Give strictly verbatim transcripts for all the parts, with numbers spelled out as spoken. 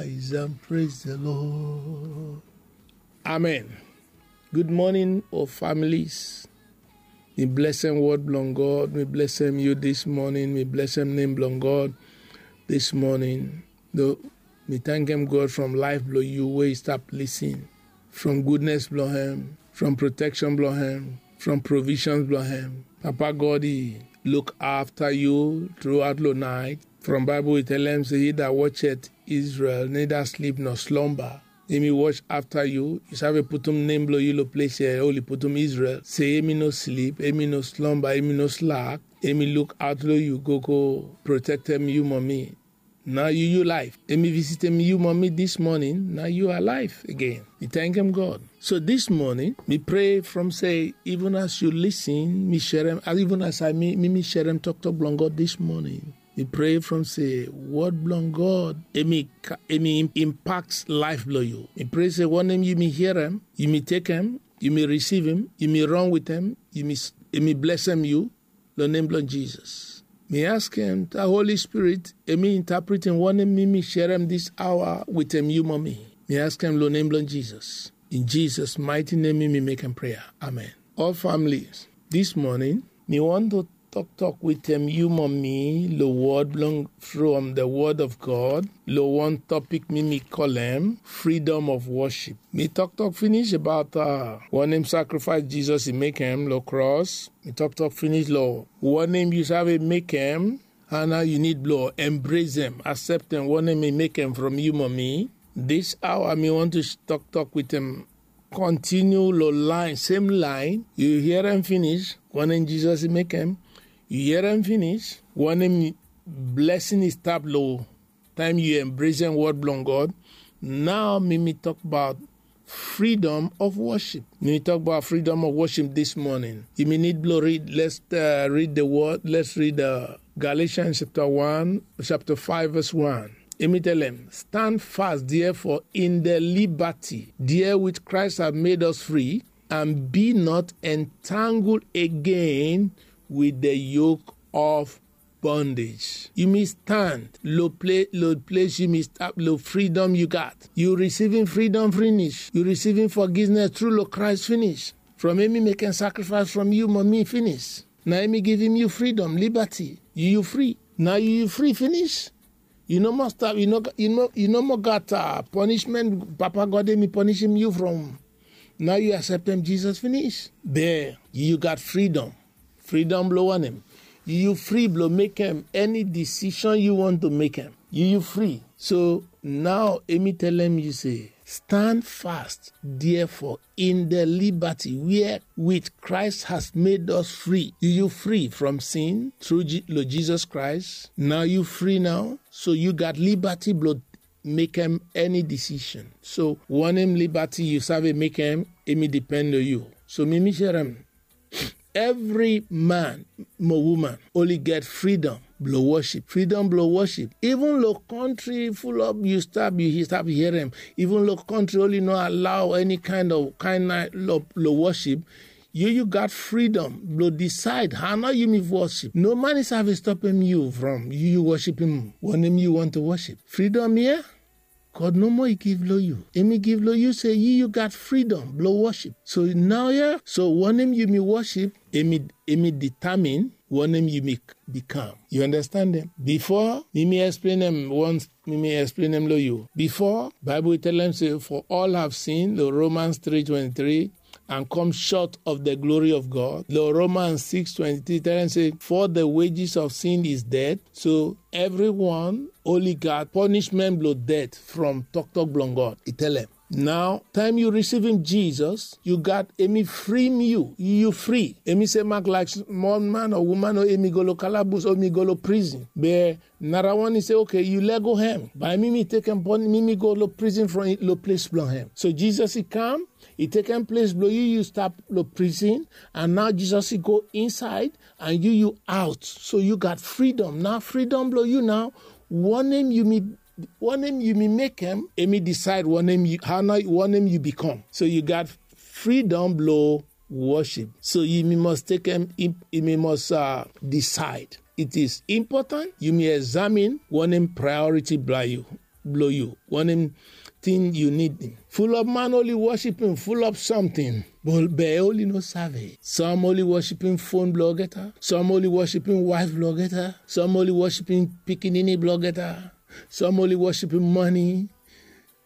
Rise and praise the Lord. Amen. Good morning, all families. Mi blessem word blong God. Mi blessem you this morning. Mi blessem name blong God this morning. No, mi thank him God from life blong you wey stop listen. From goodness blong him, from protection blong him, from provisions blong him. Papa God, he look after you throughout the night. From Bible, he tell him, say, he that watcheth Israel, neither sleep nor slumber. Him he watch after you. You sabi putum name blong you lo place here, only putum Israel. Say, him he no sleep, him he no slumber, him he no slack. Him he look out lo you, go, go protect him, you, mommy. Now you, you life. Him he visit him, you, mommy, this morning. Now you are alive again. You thank him, God. So this morning, we pray from say, even as you listen, mi share him, even as I, mi, mi, mi share him, talk, talk, blong God this morning. Mi pray from say, word blong God, him he ca-, him he im-, impacts life blong you. Mi pray say, one name you mi hear him, you mi take him, you mi receive him, you mi run with him, you mi s-, him he bless him you, lo name blong Jesus. Mi ask him, the Holy Spirit, him he interpret him, one name mi, mi share him this hour with him, you, mommy. Mi ask him, lo name blong Jesus. In Jesus' mighty name, mi, mi make him prayer. Amen. All families, this morning, mi want to talk, talk with him, you, mommy, lo word blong from the word of God. Lo one topic mi, mi call him freedom of worship. Mi talk, talk finish about, uh, one name sacrifice Jesus he make him lo cross. Mi talk, talk finish lo one name you sabi make him. And now you need blong embrace him, accept him, one name he make him from you, mommy. This hour, mi want to sh-, talk, talk with him. Continue lo line, same line. You hear him finish, one name Jesus he make him. You hear him finish, one name blessing he stop lo time you embrace him word blong God. Now, mi, mi talk about freedom of worship. Mi, mi talk about freedom of worship this morning. You mi need blong read. Let's, uh, read the word. Let's read, uh, Galatians chapter one, chapter five, verse one. Him he tell him, stand fast, therefore, in the liberty therewith Christ have made us free, and be not entangled again with the yoke of bondage. You mi stand lo pla-, lo place you mi stop, lo freedom you got. You receiving freedom finish. You receiving forgiveness through lo Christ finish. From him he making sacrifice from you, mommy, finish. Now him he giving you freedom, liberty. You, you free. Now you, you free finish. You no more stop. You no, you no, you no more got, uh, punishment. Papa God, him he punishing you from. Now you accept him, Jesus finish. There, you, you got freedom. Freedom blong one name. You, you free blong make him any decision you want to make him. You, you free. So now, him he tell him, you say, stand fast, therefore, in the liberty wherewith Christ has made us free. You, you free from sin through Je-, Lord Jesus Christ. Now you free now. So you got liberty blong make him any decision. So one name liberty you sabi make him, him he depend on you. So mi, mi share him. Every man mo woman only get freedom blong worship. Freedom blong worship. Even lo country full of you stop, you he-, stop hear him. Even lo country only no allow any kind of kind lo, lo worship. You, you got freedom blong decide how now you mi worship. No man is have stop him you from you, you worship him. One name you want to worship. Freedom here. God no more he give lo you. Him he give lo you say you, you got freedom blong worship. So now, yeah, so one name you mi worship, him he, him he determine one name you mi become. You understand him? Before, mi, mi explain him once, mi, mi explain him lo you. Before, Bible tell him say, for all have sinned, lo Romans three twenty-three, and come short of the glory of God. Lo Romans six twenty-three tell him say, for the wages of sin is death. So everyone only got punishment blong death from talk, talk blong God. He tell him. Now, time you receive him, Jesus, you got him he free you. You, you free. Him he say, make like small man or woman, or him he go lo kalabus, or him he go lo prison. But Nara one, he say, okay, you let go him. By mi, mi take him pon, mi, mi go lo prison from lo place blong him. So Jesus, he come, he take him place blong you, you stop lo prison, and now Jesus, he go inside, and you, you out. So you got freedom. Now freedom blong you now. One name you mi, one name you mi make him, him he decide one name you, how now one name you become. So you got freedom blong worship. So you mi must take him, you mi must, uh, decide. It is important you mi examine one name priority blong you. blong yu, wanem tin yu nidim. Fulop man oli wosipim fulop samting, be oli no save. Sam oli wosipim fon blong olgeta, sam oli wosipim waef blong olgeta, sam oli wosipim pikinini blong olgeta, sam oli wosipim mane.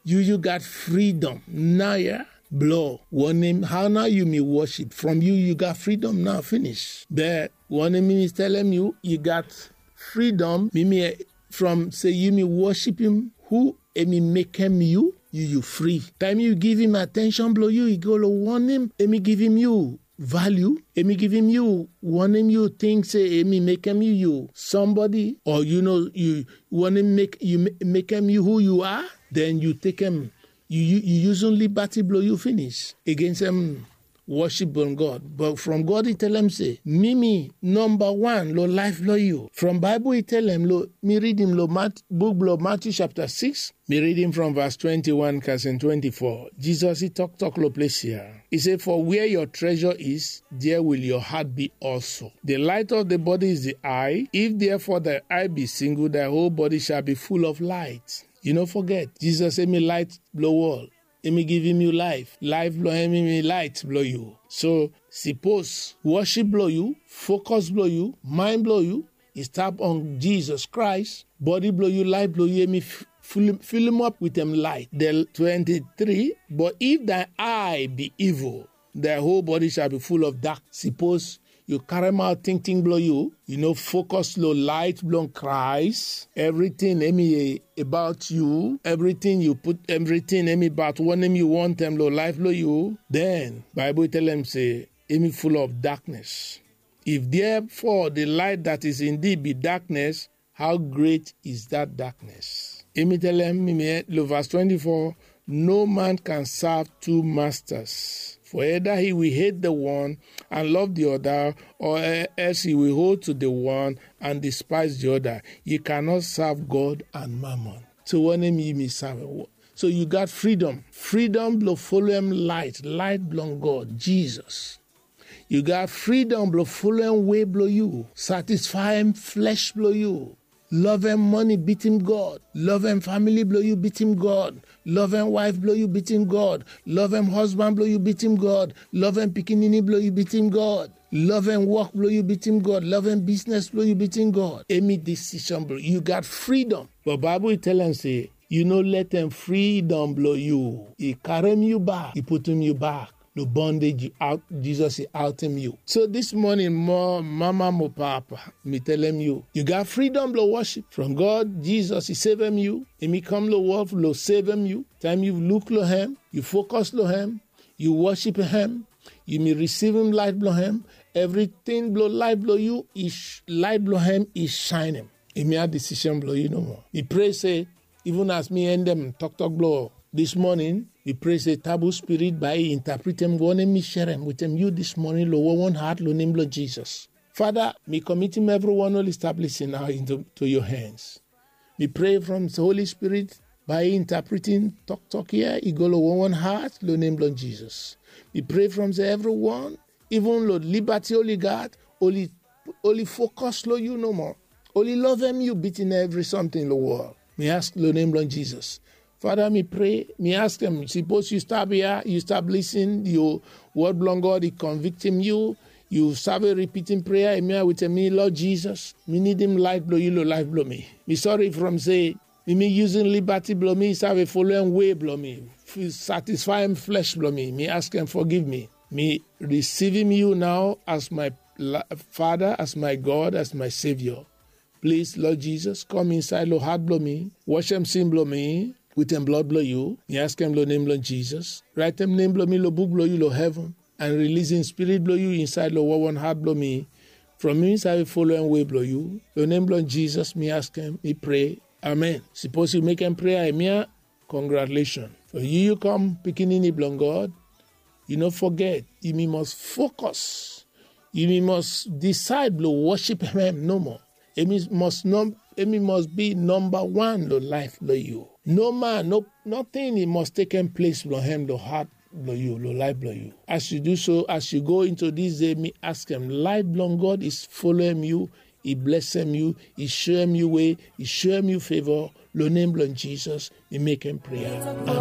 Yu yu gat fridom nao ya blong wanem hao nao yumi wosip. From yu yu gat fridom nao finis, be wanem mi mi telem yu, yu gat fridom mi mi from se yumi wosipim hu emi mekem yu, yu yu fri. Taem yu givim atenshon blong yu i go long wanem emi givim yu valiu, emi givim yu wanem yu ting se emi mekem yu yu sambodi o yu no yu wanem mek yu mekem yu hu yu a, den yu tekem yu yusum libati blong yu finis against em wosip blong God. But from God i telem se mi mi nomba wan long laef blong yu. From Baebol i telem long mi ridim long buk blong Matiu sapta six, mi ridim from vas twenty-one kasem twenty-four. Jizos i toktok long ples ya, i se, for where your treasure is, there will your heart be also. The light of the body is the eye. If therefore thy eye be single, thy whole body shall be full of light. Yu no foget, Jizos emi light blong wol. Emi givim yu laef. Laef blong hem emi light blong yu. So sipos wosip blong yu, fokos blong yu, mind blong yu i stap on Jizos Kraes, bodi blong yu, laef blong yu emi filimap wetem laet. Del twenty-three. But if thy eye be evil, thy whole body shall be full of dark. Sipos yu karemaot tingting blong yu, yu no fokos long laet blong Kraes, evriting emi abaot yu, evriting yu put, evriting emi abaot wanem yu wantem long laef blong yu, den Baebol i telem se emi full of darkness. If therefore the light that is in thee be darkness, how great is that darkness? Emi telem mi mi long vas twenty-four, no man can serve two masters, for either he will hate the one and love the other, or else he will hold to the one and despise the other. You cannot serve God and mammon. So wanem yu mi serve? So yu gat freedom, freedom blong folem laet, laet blong God, Jizos. Yu gat fridom blong folem wei blong yu, satisfaem flesh blong yu, lovem mane bitim God, lovem famili blong yu bitim God, lovem waef blong yu bitim God, lovem hosban blong yu bitim God, lovem pikinini blong yu bitim God, lovem wok blong yu bitim God, lovem bisnes blong yu bitim God. Emi disishon blong yu. Yu gat fridom. But Baebol i telem se yu no letem fridom blong yu i karem yu bak, i putum yu bak long bondage. Jizos i aotem yu. So dis moning, mo mama mo papa, mi telem yu, yu gat fridom blong wosip from God. Jizos i sevem yu. Emi kam long wol blong sevem yu. Taem yu luk long hem, yu fokos long hem, yu wosip hem, yu mi risivim laet blong hem, evriting blong laef blong yu, laet blong hem i saenem. Emi a disishon blong yu nomo. Mi prea se, even as mi endem toktok blong dis moning, mi prea se tabu spirit bae i intapretem wanem mi serem wetem yu dis moning long wonwon hat long nem blong Jizos. Fada, mi komitim evriwan oli stap lisin nao into yu hands. Mi prea from Holi Spirit bae i intapretem toktok ya i go long wonwon hat long nem blong Jizos. Mi prea from se evriwan, even long libati oli gat, oli oli fokos long yu nomo. Oli lovem yu bitim evri samting long wol. Mi ask long nem blong Jizos. Fada, mi prea, mi askem, sipos yu stap ya, yu stap lisin, yu wod blong God i konviktim yu, yu save ripitim prea ya wetem mi, Lord Jizos, mi nidim laet blong yu long laef blong mi. Mi sori from se mi mi yusum libati blong mi save folem wei blong mi, satisfaem flesh blong mi. Mi askem fogiv mi. Mi risivim yu nao as my Fada, as my God, as my Savior. Plis, Lord Jizos, kom insaed long hat blong mi, wasem sin blong mi wetem blod blong yu. Mi askem long nem blong Jizos. Raetem nem blong mi long buk blong yu long heven, and rilisim Spirit blong yu insaed long wonwon hat blong mi, from mi save folem wei blong yu. Long nem blong Jizos mi askem, mi prea. Amen. Sipos yu mekem prea ya, mi a congratulation. From yu yu kam pikinini blong God, yu no foget, yumi mos fokos. Yumi mos disaed blong wosip hem nomo. Emi mos bi nomba wan long laef blong yu. No man, no nating i mos tekem ples blong hem long hat blong yu, long laef blong yu. As yu du so, as yu go into dis dei, mi askem laet blong God i folem yu i blesem yu, i soem yu we, i soem yu feva. Long nem blong Jisas mi mekem prea.